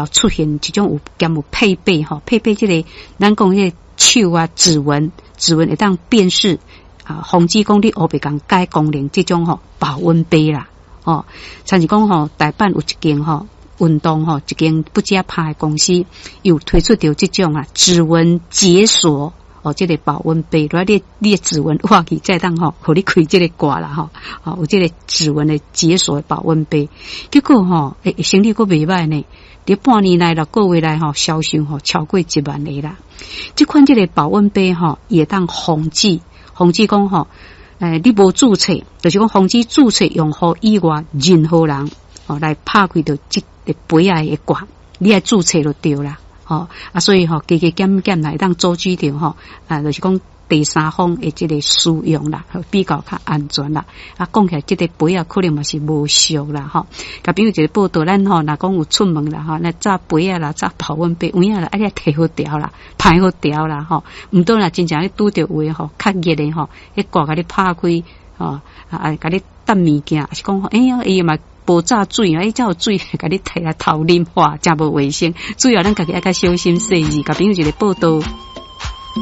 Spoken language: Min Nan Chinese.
出現一種有兼有配備吼，配備這個咱講彼個手啊指紋，指紋會當辨識啊，防止講你烏白共改功能這種吼保溫杯啦，吼，親像講吼，台北有一間吼運動吼一間不加拍的公司，有推出著這種啊指紋解鎖哦，這個保溫杯，如果你的指紋挖去，才會當吼，予你開這個蓋啦吼，哦，有這個指紋的解鎖保溫杯，結果吼，欸，生理閣袂䆀呢。佇半年內6個月內吼，銷售吼超過1萬個啦。這款這個保溫杯吼，會當防止防止講吼，欸，你無註冊，就是講防止註冊用戶以外任何人哦來拍開著這個杯仔的蓋，你愛註冊就對啦。吼啊，所以吼，加加減減來會當阻止著吼，啊，就是講第三方的這個使用啦，比較較安全啦。啊，講起來，這個杯仔可能嘛是無俗啦，吼。共朋友一个報道，咱吼，若講有出門啦，吼，那紮杯仔啦，紮保溫杯，有影啦，啊，你提好牢啦，排好牢啦，吼。毋過若真正咧拄著有的吼，較熱的吼，彼蓋共你拍開，吼，啊，共你擲物件，抑是講，哎呀，伊嘛無紮水啊，伊才有水，共你提來偷啉，哇，誠無衛生。主要咱家己愛較小心細膩。共朋友一个報道。